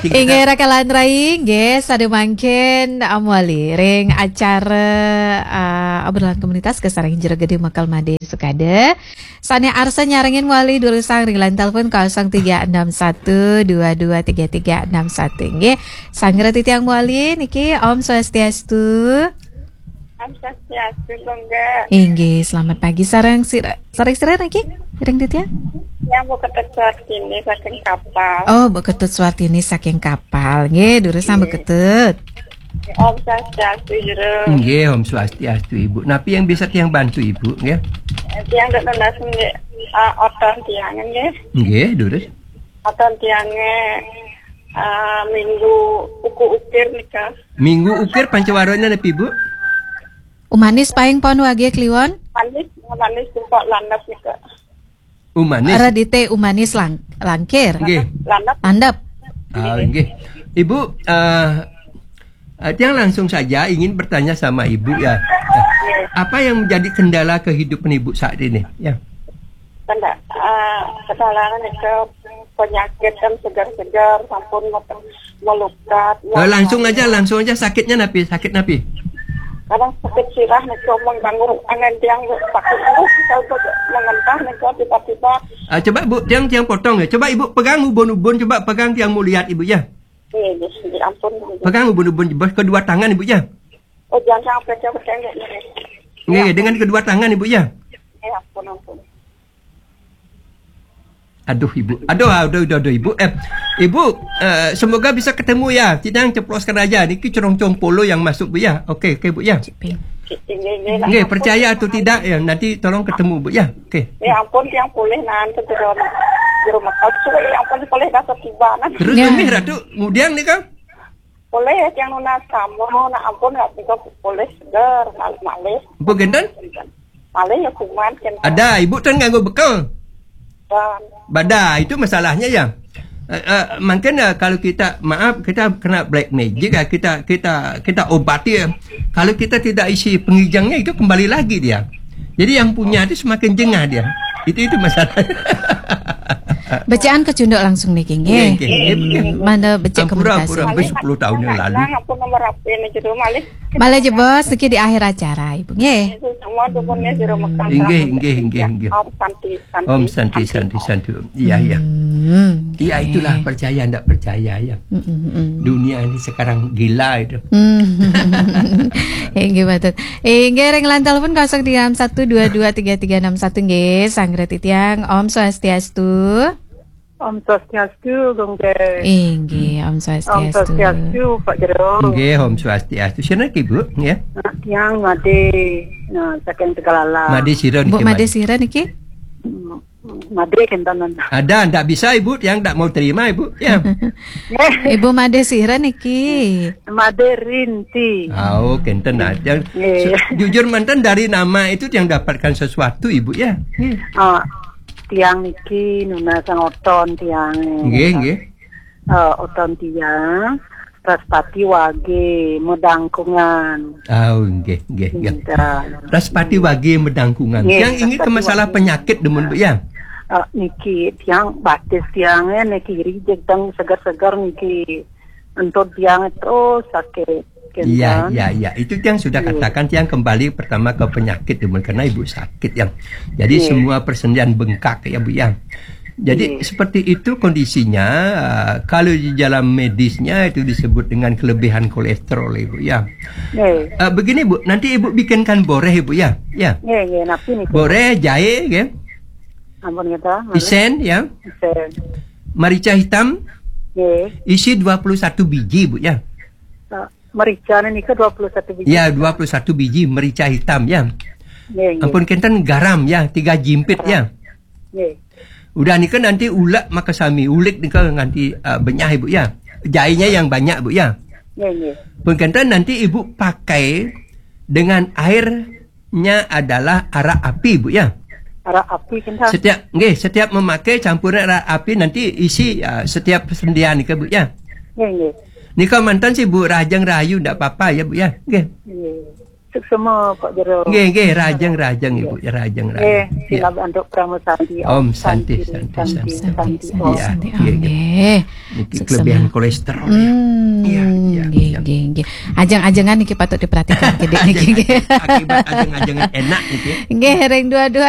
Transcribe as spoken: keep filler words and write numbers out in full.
Inggih, raka lan rai, inggih, sadaya mangkin, ah, mawali ring acara, ah, obrolan komunitas kasarengin Jero Gede Mekel Made Sukade. Sane arsa nyarengin mawali durusang ring line telepon kosong tiga enam satu dua dua tiga tiga enam satu, inggih. Sanggra titiang mawali niki, Om Swastiastu. Om Swastiastu, Gongga. Inggih, selamat pagi sareng sira, sareng sira niki, ring titiang? Yang Bu Ketut Suartini saking Kapal. Oh, Bu Ketut Suartini saking Kapal. Nggih, durusang Bu Nggih. Ketut. Om Swastiastu, Jero. Nggih, Om Swastiastu, Ibu. Napi yang bisa tiang bantu, Ibu, nggih? Tiang dek nunas nggih, ah, oton tiang nggih. Nggih, durus. Oton tiang nggih, ah, minggu uku ukir nika. Minggu ukir pancawarana napi, Bu? Umanis paing pon wage kliwon? Manis, manis sumpah landep nika. Umanis. Radite umanis lang-, langkir. Nggih. Landep. Landep. Ah, nggih. Ibu, eh, eh, tiang langsung saja ingin bertanya sama Ibu ya. Eh, apa yang menjadi kendala kehidupan Ibu saat ini? Ya. Kenda-, eh, kendala nika penyakit kan segar-segar, sampun meten melukat. Eh, langsung aja, langsung aja sakitnya napi, sakit napi? Kadang sakit sirah nika, mun bangun angan tiang sakit terus, kalau mengentah nika tiba-tiba. Ah, coba Bu, tiang, tiang potong ya. Coba Ibu pegang ubun-ubun, coba pegang tiang mau lihat Ibu ya. Iya, iya, iya, ampun. Pegang ubun-ubun, kedua tangan Ibu ya. Oh, jangan sampai coba tengok nih. Nggih, dengan kedua tangan Ibu ya. Ya ampun, ampun. Aduh, Ibu. Aduh, aduh, aduh, aduh, Ibu. Eh, Ibu, eh, semoga bisa ketemu ya. Tidak ceploskan aja. Niki cerong-cerong polo yang masuk, Bu ya. Oke, oke, Bu ya. Nggih, nggih, nggih, nggih, ampun. Percaya atau tidak ya, nanti tolong ketemu, Bu ya. Oke. Ya ampun, yang pulih nanti ke dalam di rumah kau. Sudah, ya ampun, pulih dah tiba nanti. Terus ya. Nggih, Ratu, kemudian nih kan? Pulih ya, yang nunas kamu, nak ampun, nak tinggal pulih segar, malih-malih. Bu Genten? Malih ya kuman kan. Ada, Ibu ten nganggo bekel. Dan Bada, itu masalahnya ya. Eh, eh, mungkin ya, kalau kita, maaf, kita kena black magic ya, kita kita kita obati ya. Kalau kita tidak isi pengijangnya, itu kembali lagi dia. Jadi yang punya itu semakin jengah dia. Itu itu masalahnya. Bacaan kecunduk langsung niki, nggih. Nggih, nggih, nggih. Hmm, mana becik. Ampura, komunikasi ampura, nggih. Sampai sepuluh tahun yang lalu. Nah, apa nomor H P ini jero malih? Malih jebos niki di akhir acara, Ibu, nggih. Itu semua dukunnya di rumah. Hmm. Inggih, inggih, inggih, inggih. Om Santi, Santi, Om Santi, Santi, Santi. Santi. Iya, iya. Hmm, iya, oke. Itulah percaya ndak percaya ya. Mm, mm, mm. Dunia ini sekarang gila itu. Hmm. Inggih, betul. Inggih, ring line telepon kosong tiga enam satu dua dua tiga tiga enam satu, nggih, sanggra titiang. Om Swastiastu. Om Swastiastu, Gongge. Inggih, Om Swastiastu. Om Swastiastu, Pak Jero. Nggih, Om Swastiastu. Sira niki, Bu, ya? Nah, tiang Made, nah, saking Tegalala. Made sira niki, Bu, Made sira niki? Hmm, Made kenten. Ada, ndak bisa, Ibu, tiang ndak mau terima, Ibu, ya. Ibu Made sira niki? Made Rinti. Oh, kenten aja. Nggih. Su-, jujur manten, dari nama itu tiang dapatkan sesuatu, Ibu, ya. Nggih. Ah, tiang niki nunas oton tiang. Nggih, nggih. Eh, oton tiang, Raspati Wage, Medangkungan. Oh, nggih, nggih, nggih. Nggih. Raspati Wage, Medangkungan. Nggih, yang ini ke Raspati masalah Wage. Penyakit demen, Bu, ya? Eh, niki tiang batis tiang, eh, niki rijek tang segar-segar niki. Entut tiang itu sakit. Iya, iya, iya. Itu yang sudah katakan, yang kembali pertama ke penyakit, Ibu, karena Ibu sakit, yang. Jadi, iya, semua persendian bengkak, ya, Bu, ya. Jadi, iya, seperti itu kondisinya. Uh, kalau di dalam medisnya itu disebut dengan kelebihan kolesterol, Ibu, ya. Iya. Uh, begini, Bu, nanti Ibu bikinkan boreh, Ibu, ya. Ya. Iya, iya, napi nih? Boreh, jahe, ya. Ampun, kita. Isen, ya. Isen. Merica hitam. Iya. Isi dua puluh satu biji, Bu, ya. Uh, Merica nika dua puluh satu biji. Ya, dua puluh satu biji merica hitam, ya. Nggih, nggih. Ampun kenten, garam, ya, tiga jimpit, ya. Nggih. Udah nika nanti ulek makasami, ulik nika nganti, uh, benyah, Ibu, ya. Jahenya yang banyak, Bu, ya. Nggih, nggih. Ampun kenten, nanti Ibu pakai dengan airnya adalah arak api, Bu, ya. Arak api, kenten. Setiap, nggih, setiap memakai campuran arak api nanti isi, uh, setiap persendian nika, Bu, ya. Nggih, nggih. Nika manten sih, Bu, rahajeng rahayu ndak apa-apa ya, Bu, ya. Nggih. Nggih. Semua Pak Jero. Nggih, nggih, rahajeng, rahajeng, Ibu, rahajeng, rahajeng. Nggih, sinab antuk Parama Santi. Om Santi, Santi, Santi, Santi, Santi. Om. Iya, iya, iya. Nggih. Niki kelebihan kolesterol, ya. Hmm, iya, iya, nggih, iya. Nggih, nggih. Ajeng-ajengan niki patut diperhatikan, nggih, nggih. Ajeng-ajeng, akibat ajeng-ajengan enak niki. Nggih, ring dua dua